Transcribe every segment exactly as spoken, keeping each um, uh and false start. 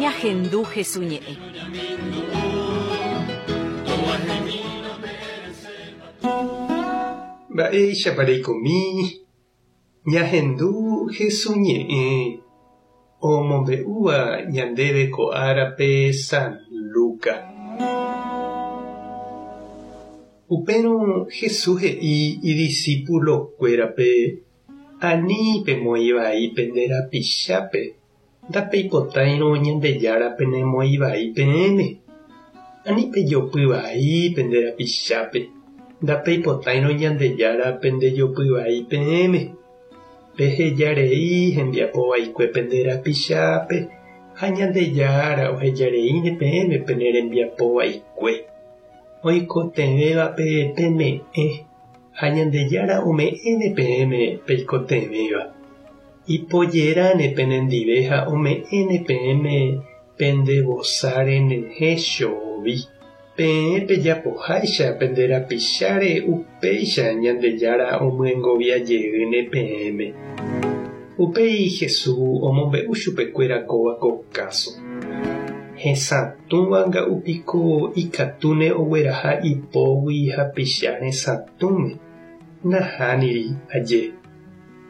Ñahendu Jesús ñe'ẽ. Mba'éichapa reikomi ñahendu Jesús ñe'ẽ omombe'úva ñandéve ko árape San Lucas. Upérõ Jesús he'i idiscípulokuérape ani pemoĩ vai pende rapichápe ndapeipotáirõ Ñandejára penemoĩ vai peẽme. Ani pejopy vai pende rapichápe ndapeipotáirõ Ñandejára pendejopy vai peẽme. Pehejarei hembiapo vaikue pende rapichápe ha Ñandejára ohejareíne peẽme pene rembiapo vaikue. Oikotevẽvape peme'ẽ ha Ñandejára ome'ẽne peẽme peikotevẽva. Ipojeráne penendive ha ome'ẽne peẽme pendevosáre nehechovi. Peẽ pejapoháicha pende rapicháre upéicha Ñandejára omyengoviajeýne peẽme. Upéi Jesús omombe'u chupekuéra kóva ko káso. Hesatũva nga'upiko ikatúne ogueraha ipógui hapicha hesatũme. Nahániri aje.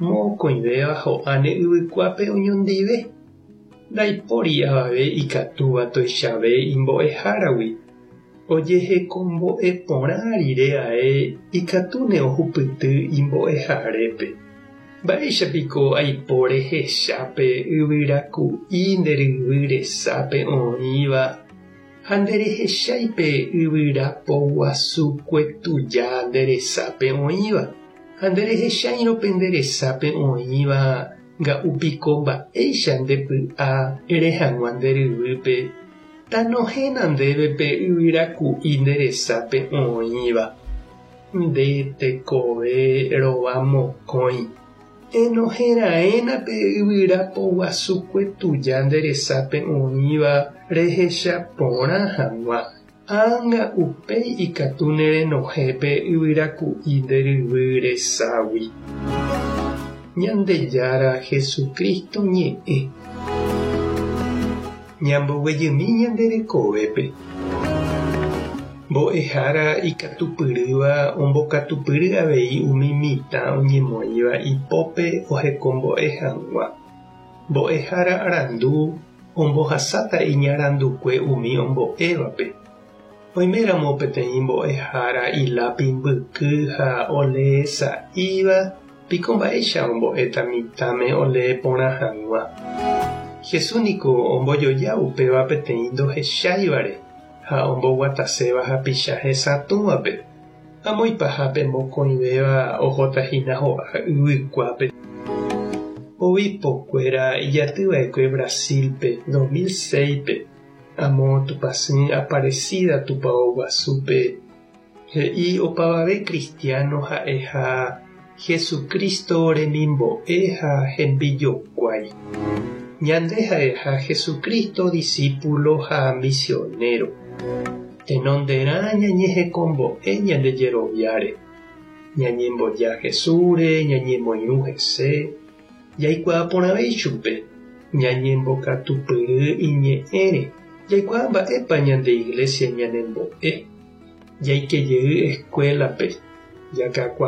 Mokõivéva ho'áne yvykuápe oñondive. Ndaipóri avave ikatúva tuichave imbo'eháragui. Ojehekombo'e porã rire ae ikatúne ohupyty imbo'eharépe. Mba'éichapiko aipo rehechápe yvyraku'i nde ryvy resápe oĩva ha nderehecháipe yvyrapoguasukue tuja nde resápe oĩva ha nderehecháirõ pende resápe oĩva nga'upiko mba'éicha ndepy'a ere hag̃ua nde ryvýpe tanohéna ndéve pe yvyraku'i nde resápe oĩva. Nde tekove rova mokõi. Enohẽraẽna pe yvyrapoguasukue tuja nde resápe oĩva rehecha porã hag̃ua. Ág̃a upéi ikatúne renohẽ pe yvyraku'i nde ryvy reságui. Ñandejára Jesucristo ñe'ẽ. Ñamboguejymi ñande rekovépe. Mbo'ehára ikatupyrýva ombokatupyry avei umi mitã oñemoĩva ipópe ohekombo'e hag̃ua. Mbo'ehára arandu ombohasáta iñarandukue umi ombo'évape. Oiméramo peteĩ mbo'ehára ilápi mbyky ha oleesa'íva piko mba'éicha ombo'éta mitãme olee porã hag̃ua. Jesús niko ombojoja upéva peteĩ ndohecháivare ha omboguataséva hapicha hesatũvape. Amo ipahápe mokõivéva ohótahína ho'a yvykuápe. Obipokuéra ijatyva'ekue Brasilpe dos mil seis-pe amo Tupãsy Aparecida Tupão guasúpe he'i opavave cristiano ha'eha Jesucristo remimbo'e ha hembijokuái. Ñande ha'eha Jesucristo discípulo ha misionero. Tenonderã ñañehekombo'e ñande jeroviáre. Ñañemboja Jesúsre, ñañemoirũ hese, jaikuaa porãve ichupe, ñañembokatupyry iñe'ẽre, jaikuaa mba'épa ñande iglesia ñanembo'e, jaikejey escuelape, jakakuaa